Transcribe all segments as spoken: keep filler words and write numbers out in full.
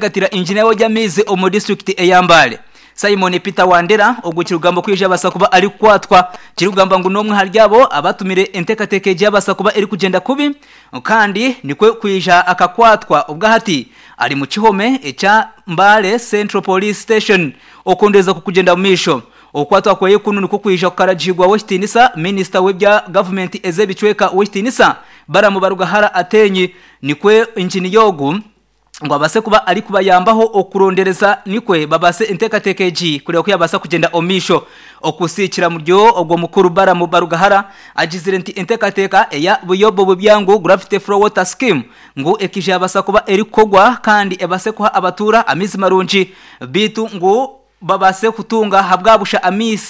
Gatira injiniya w'eby'amaizi omu disitulikiti eya Mbale Simon Peter Wandera ogwo kirikugamba kwija abasa kuba arikukwatwa kirikugamba ngu n'omwe ahari abo abatumire enteekateeka egi yabasa kuba erikugyenda kubi kandi nikwe kwija akakwatwa obwahati ari mu kihome ekya Mbale Central Police Station okondereza kukugyenda mu maisho. Okukwatwa kweye kunu nikwo kwija kukaragirwa w'ekitiinisa minisita w'ebya gavumenti ez'ebicweka w'ekitiinisa Balaam Barugahara Ateenyi nikwe injiniya ogu ngu abase kuba arikubayambaho okurondereza nikwe babase enteekateeka egi kureba ku yabaasa kugyenda omu maisho. Okusiikira muryo ogwo mukuru Balaam Barugahara agizire nti enteekateeka eya Buyobo Bubyangu Gravity Flow Water Scheme ngu ekija yabasa kuba erikukogwa kandi ebase kuha abatuura amaizi marungi beitu ngu babase kutunga ahabwabusha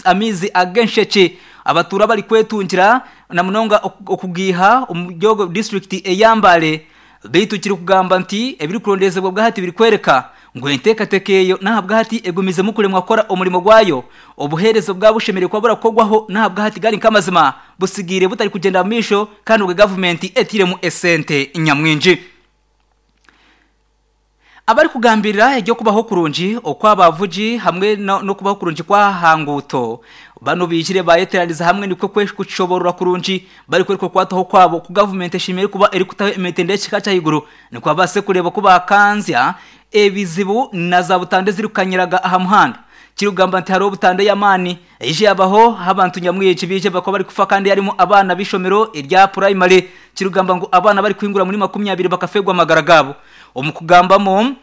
amaizi ag'enshekye abatuura barikwetungira na munonga okugiiha omu disitulikiti eya Mbale. Beitu kirikugamba nti ebirikurondezebwa bwahati birikwereka ngu enteekateeka eyo n'ahabwahati egumizemu kuremwa kukora omurimo gwayo obuheereza bwaba bushemereire kuba burakorwaho n'ahabwahati gari nk'amazima busigaire butarikugyenda mu maisho kandi obwe gavumenti etairemu esente nyamwingi. Abarikugambirira eby'okubaho kurungi okw'abavugi hamwe n'okubaho kurungi kw'aha nguuto banu baijire bayeteraniza hamwe nikwo kushoborora kurungi barikwereka okukwataho kwabo oku gavumenti eshemereire kuba erikutaho emitendera y'ekika ky'ahaiguru nikwo babaase kureeba oku bakanzya ebizibu na za butanda ezirikukanyiraga aha muhanda. Kirikugamba nti hariho butanda ey'amaani eije yabaho abantu nyamwingi baije bakaba barikufa kandi harimu abaana b'eishomero erya purayimare. Kirikugamba ngu abaana barikuhingura muri makumi abiri bakafeerwa amagara gaabo. Omu kugambamu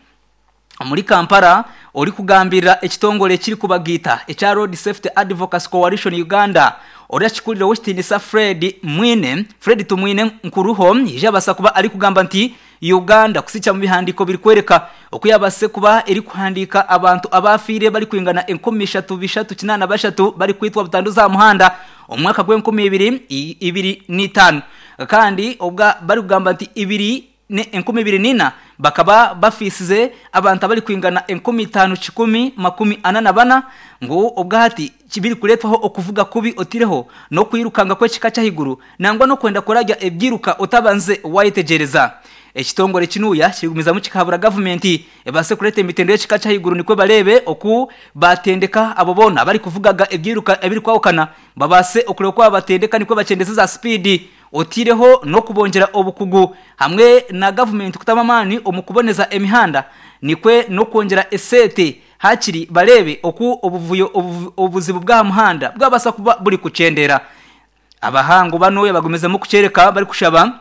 omuri Kampala orikugambirira ekitongore ekirikubagiita ekya Road Safety Advocacy Coalition Uganda oriakikurire w'ekitiinisa Fred Mwine Fred Tumwine Nkuruho yaija abaasa kuba arikugamba nti Uganda kusikya mu bihandiiko birikwereka oku yabaase kuba erikuhandiika abantu abafiire barikwingana enkumi ishatu bishatu kinaana bashatu barikwitwa butandu za muhanda omu mwaka gw'enkumi ibiri ibiri n'itaano kandi obwa barikugamba nti ibiri enkumi ibiri n'ina bakaba bafiisize abantu abarikwingana enkumi itaano kikumi makumi ana na bana ngu obwahati birikureetwaho okuvuga kubi otireho n'okwirukanga kw'ekika ky'ahaiguru nangwa n'okwenda kurarya ebyiruka otabanze wayetegyereza. Ekitongore kinuya kirigumizamu kikahabura gavumenti ebaase kureeta emitendera y'ekika ky'ahaiguru nikwo bareebe oku batendeka abo boona abarikuvugaga ebyiruka ebirikwahukana babaase okureba oku babatendeka nikwo bakyendeze za sipiidi otireho n'okubongyera obukugu hamwe na gavumenti kutamu amaani omu kuboneza emihanda nikwe n'okwongyera esente hakiri bareebe oku obuvuyo obuzibu bw'aha muhanda bwabasa kuba buri kukyendera. Abahangu bano bagumizemu kukyereka barikushaba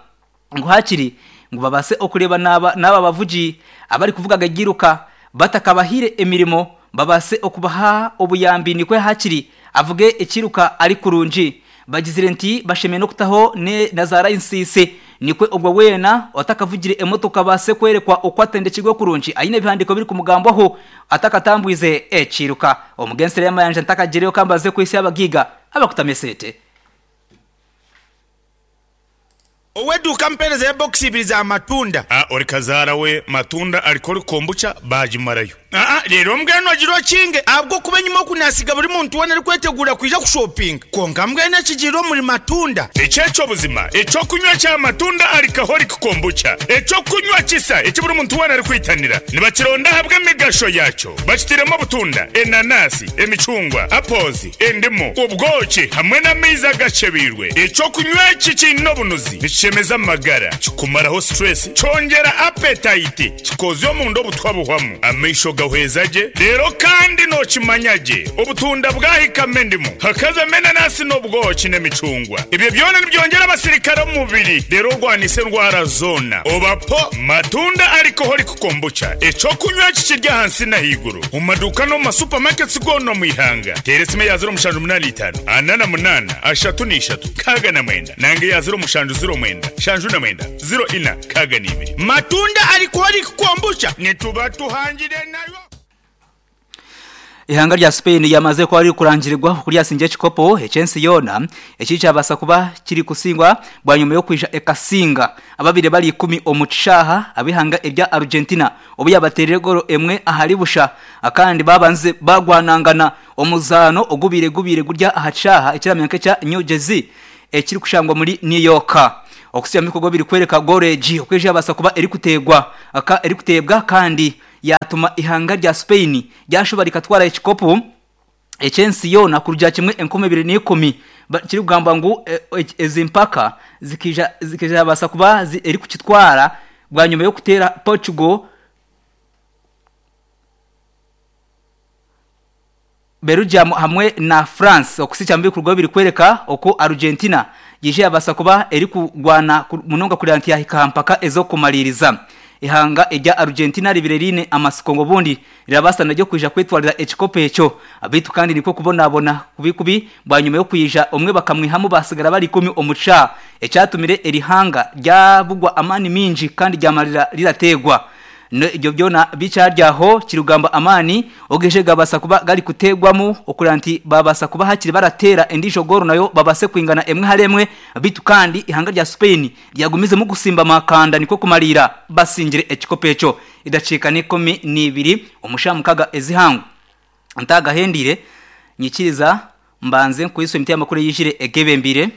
ngu hakiri ngu babase okureba n'aba bavugi abarikuvugaga ebyiruka batakabahire emirimo babase okubaha obuyambi nikwe hakiri avuge ekiruka ari kurungi. Bagizire nti bashemereire n'okutaho na za layisinsi nikwe obwo weena otakavugire emotoka abase kwerekwa oku atendekirwe kurungi aine ebihandiiko birikumugambwaho atakatambwize ekiruka. Omugensere y'amayanja ntakagireyo kambaze kwitsya abagiiga abakutama esente. Ow'eduuka mpeereza ya bokisi ibiri za matunda. Aa ori kazaara we matunda alcoholic kombucha baagimarayo. Aa reero mbwenu ogira okinge ahabw'okuba enyima oku naasiga buri muntu weena arikweteguura kwija kushopinga. Kwonka mbwenu ekigiire omuri matunda. Eki eky'obuzima eky'okunywa kya matunda alcoholic kombucha. Eky'okunywa kisa eki buri muntu weena arikwitanira. Nibakironda ahabw'emigasho yaakyo. Bakitairemu obutunda, enanasi, emicungwa, apples, endimu, obwoki hamwe n'amaizi agakyebeirwe. Eky'okunywa eki kiine obunuzi nikishemeza amagara, kikumaraho stress, kyongyera appetite, kikozya omunda obutwa buhwamu, amaisho gahweza gye, reero kandi nookimanya gye obutunda bwahikamu endimu, hakazamu enanasi n'obwoki n'emicungwa. Ebyo byona nibyongyera abasirikare omu mubiri reero orwanise endwara zoona. Oba po matunda alcoholic kombucha eky'okunywa eki kiri ahansi n'ahaiguru omu maduuka n'omu masupamaketi goona omu ihanga. Teera esimu eya ziro mushanju munaana itaano ana na munaana ashatu n'ishatu nkaaga na mwenda nanga eya ziro mushanju ziro mwenda shanju na mwenda ziro ina nkaaga n'ibiri. Matunda alcoholic kombucha nituba tuhangire nayo. Ihanga rya Spain ryamaze kuba ririkurangirirwa oku ryasingire ekikopo eky'ensi yoona eki kyabasa kuba kirikusingwa bwanyuma y'okwija ekasinga ababire bari ikumi omu kishaaha ab'ihanga erya Argentina obu yabateerire goolo emwe ahari busha kandi babanze bagwanangana omuzaano ogubaire gubaire guri aha kishaaha ekiramanya nk'ekya New Jersey ekirikushangwa muri New York. Okusiima ebikorwa birikwereka goolo egi oku eija yabaasa kuba erikuteegwa erikuteebwa kandi yatuma ihanga rya Spain ryashoba rikatwara ekikopo ekyensi yona kurya kimwe enkumi ibiri n'ikumi. Kiri kugamba ngu ezi mpaka zikija zikija basa kuba eri kukitwara bwa nyuma yo kutera Portugal, Belgium hamwe na France. Okusicha mbi kurwa biri kwereka oko Argentina yije abasa kuba eri kugwana munonga kuri anti yahika mpaka ezo kumaliriza. Ihanga ejya Argentina ribirerine amasiko ngo bundi rirabasa naryo kuja kwitwarira ekikopo ekyo abitu, kandi niko kubonabona kubikubi bwa nyuma yo kuyija umwe bakamwihamu basigara bari ikumi omuca ecyatumire erihanga ryabugwa amani minji kandi ryamarira rirategwa. Ibyo byona bicaryaho kirugamba amani ogeje gabasa kuba gari kutegwamo okuranti babasa kuba hakiri baratera endisho goro nayo babase kwingana emwe haremwe bitu, kandi ihanga rya Spain ryagumize mu gusimba makanda niko kumarira basingire ekikopo eco idacika n'ikumi n'ibiri umushamukaga ezihangu ntagahendire nyikiriza mbanze kuyiso imiti y'amakuru yijire egebembire.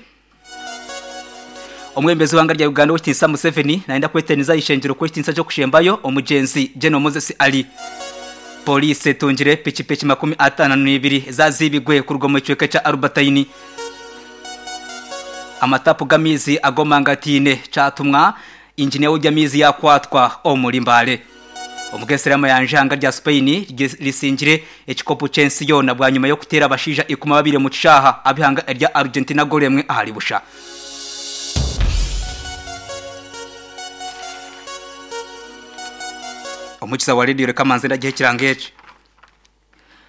Omwembezi wanga rya Uganda w'Itinsa Museveni naenda kweteniza ishengero kw'Itinsa cyo kushembayo omugenzi General Moses Ali. Police tungire pikipiki makumi atano n'ibiri zazibigwe ku rugomo cweka ca Albertine. Amatapu gamizi agomangatine catumwa injiniya w'jamizi yakwatwa omuri Mbale. Omugesera yanjanga rya Spain lisingire ekikopo c'ensi yona bwa nyuma yo kutera abashija ikuma babire mu cishaha abihanga rya Argentina goremwe ahari busha. Omukiza wa radio reka manze ndagihe kirangeje.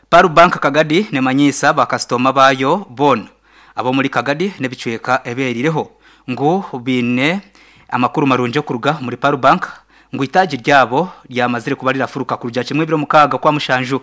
Paru Bank Kagadi ne manyisa bakastoma bayo bon abo muri Kagadi ne bicweka eberireho ngo bine amakuru marunje kuruga muri Paru Bank ngo itaji ryabo ryamazire kuba rirafuruka kurya kimwe biro mukaga kwa mushanju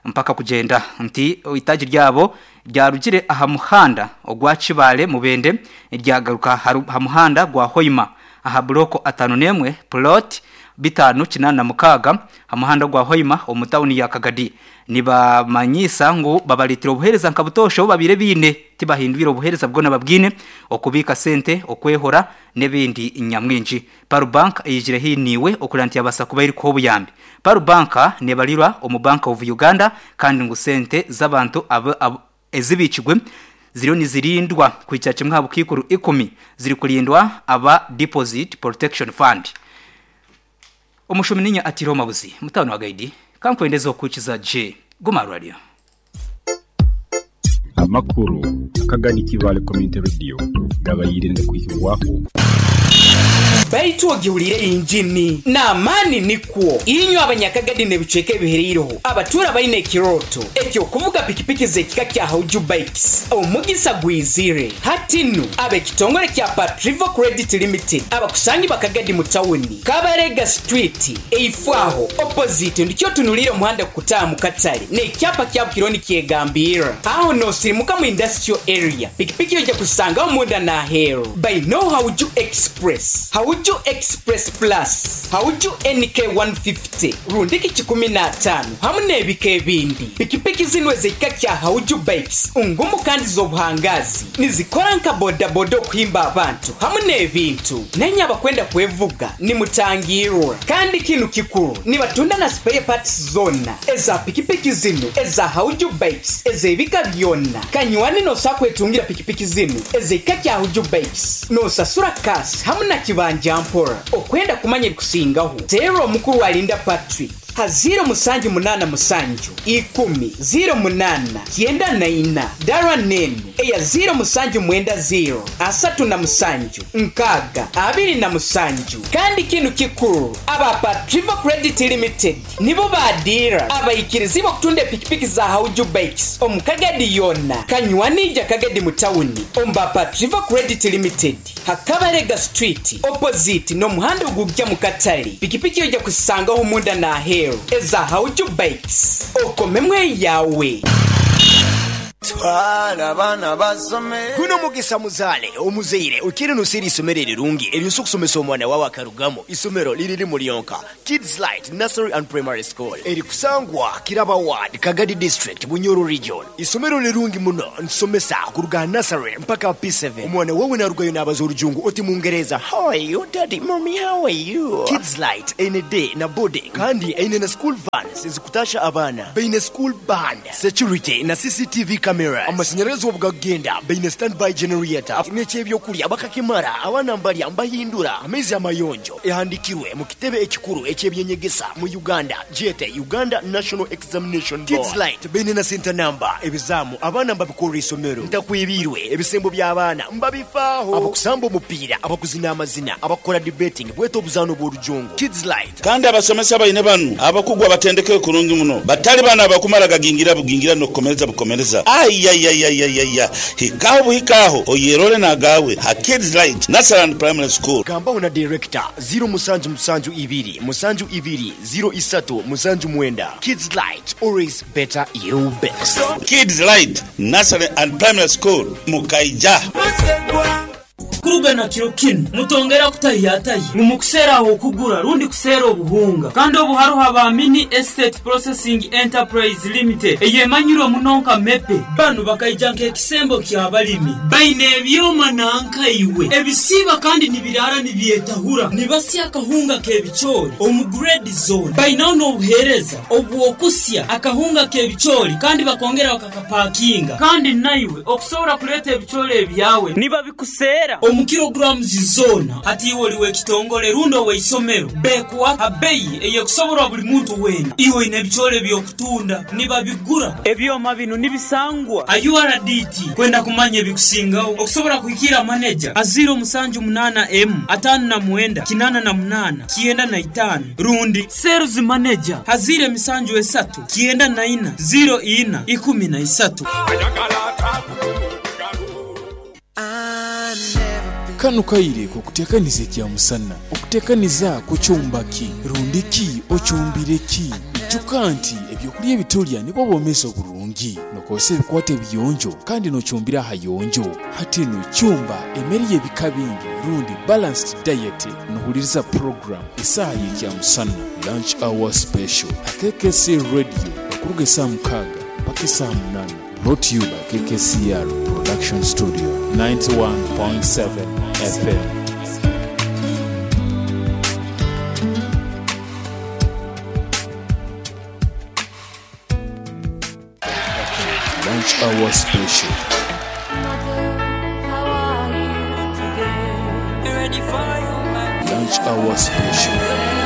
mpaka kugenda nti itaji ryabo ryarugire aha muhanda ogwa Kibale mubende ryagaruka ha muhanda gwa Hoima aha bloko atanu nemwe plot bitanu kinana mukaga amuhanda gwa Hoima omutawuni ya Kagadi. Nibamanyisa ngo babalitira obuhereza nkabutosho babire bine tibahindwira obuhereza bwona babwine okubika sente okwehora nebindi nyamwinji. Paru Bank eyijire hiniwe okuranti abasa kuba iri ko buyambi. Paru Bank nebalirwa omu Bank of Uganda kandi ngo sente z'abantu ezibikigwe ziriyo nizirindwa kwica kimwe habukikuru ikumi ziri kulindwa aba Deposit Protection Fund. Omushumi ninya atiro mabuzi mutano wa gaidi kankwendeza okukiza J Guma Radio. Amakuru akagani Kibale Community Radio gabayirinde kuyiwaho baitu ogihulire injini n'amaani nikwo inywe abanyakagadi nebicweka ebihereireho abatura baine ekiroto ekyokuvuga pikipiki z'ekika kya Hauju Bikes omugisa gwizire hatinu ab'ekitongole kya Patrivo Credit Limited abakusangi bakagadi mu tawuni Kabarega Street eifwaho opposite ndikyo tunulire omuhanda kutaaha mu katale n'ekyapa kya Bukironi kyegambira aho nosirimuka mu industrial area pikipiki ojja kusangaho munda n'aheeru by no Hauju Express Hauju Express Plus Hauju N K one fifty rundiki kikumi n'ataano hamu n'ebika ebindi. Pikipiki zino ez'ekika kya Hauju Bikes ngumu kandi z'obuhangazi nizikora nka bodaboda okuhimba abantu hamu n'ebintu nenye abakwenda kwevuga nimutangirwa kandi kinu kikuru nibatunda na spare parts zonna eza pikipiki zino eza Hauju Bikes ez'ebika byonna. Kanywani nosa kwetungira pikipiki zino ez'ekika kya Hauju Bikes nosasura kasi hamu na kibanja mpora okwenda kumanya ebikusingaho teera omukuru alinda Patrick ha ziro musanju munana musanju ikumi ziro munana kyenda na ina dara nenu eya ziro musanju mwenda ziro asatu na musanju nkaga abiri na musanju. Kandi kinu kikuru aba Patrivo Credit Limited nibo badira abayikirizi bakutunda pikipiki za Hauju Bikes omukagadi yonna kanywanija Kagadi mu tawuni omba Patrivo Credit Limited Hakabarega Street opposite n'omuhanda ogujja mu katale pikipiki ojja kusangaho munda n'aheeru eza Hauju Bikes okomemwe yawe. Twala abaana basome. Guno mugisa muzaale omuzaire okiri nusira isomero erirungi eryosa okusomesa omwana wawe akarugamu. Isomero liriri mulyonka Kids Light Nursery and Primary School erikusangwa Kiraba Ward, Kagadi District, Bunyoro Region. Isomero lirungi muno nsomesa kuruga nursery mpaka P seven. Omwana wawe narugayo n'abaza orujungu oti mungereza, how are you daddy, mommy, how are you? Kids Light ene day na boarding kandi ene na school vans ezikutasha abaana, baine school band, security na C C T V cameras, amashanyarazi obugagenda, baine standby generator n'ekyebyokurya bakakimara abaana mbarya mbahindura amaizi amayonjo. Ehandikirwe mu kitebe ekikuru eky'ebyenyegesa mu Uganda, jete Uganda National Examination Board. Kids Light baine na center number, ebizamu abaana mbabikorera isomero, ntakwibirwe ebisembo by'abaana mbabifaaho, abakusamba omupiira, abakuzina amazina, abakora debating, bweta obuzaano bw'orujungu. Kids Light. Kandi abasomesa baine banu abakugwa batendeke kurungi muno, batali bana abakumara gagingira bugingira n'okukomereza bukomereza. Ayayayayaya, hikaho buhikaho oyerole nagawe ha Kids Light Nursery and Primary School. Gambaho na director zero musanju musanju ibiri musanju ibiri zero isatu musanju mwenda. Kids Light, always better you best. Kids Light Nursery and Primary School Mukaija. Kuruga kiro kinu mutongera kutayatayi mumukusera okugura rundi kusera obuhunga kandi obuharuha ba Mini Estate Processing Enterprise Limited eyemanyirwe munonka mepe banu bakaija nk'ekisembo ky'abalimi baine ebyoma nankaiwe ebisiba kandi nibirara nibyetahura nibasya akahunga k'ebicoori omu grade zone bainaho n'obuheereza obwokusya akahunga k'ebicoori kandi bakongera bakakapakinga kandi naiwe okusobora kuleeta ebicoori ebyawe nibabikusera omu kilograms zona. Hati iwe oliwe ekitongole rundo weisomero bekwa abeyi eyekusoborwa buli muntu wena iwe ine ebicoori byokutunda nibabigura ebyoma bino nibisangwa a U R D T kwenda kumanya ebikusingaho okusobora kuhikira manager a zero musanju munana M atano na mwenda kinana na munana kienda na itano rundi sales manager hazire misanju esatu kienda na ina zero ina ikumi na isatu. Kano kaire kukutekaniza kya musana okutekaniza kucyumbaki rundiki ocyumbireki ijuka nti ebyokulya ebitulya nibwo bomesa oburungi nokose ebikwate biyonjo kandi nocyumbira hayonjo hati no cyumba emeri y'ebika bingi rundi balanced diet nohuliriza program isaha y'ekya musana lunch hour special K K C Radio okuruga saa mukaaga mpaka saa munana. Brought to you by K K C R Production Studio ninety-one point seven F M. Lunch Hour Special. Lunch Hour Special.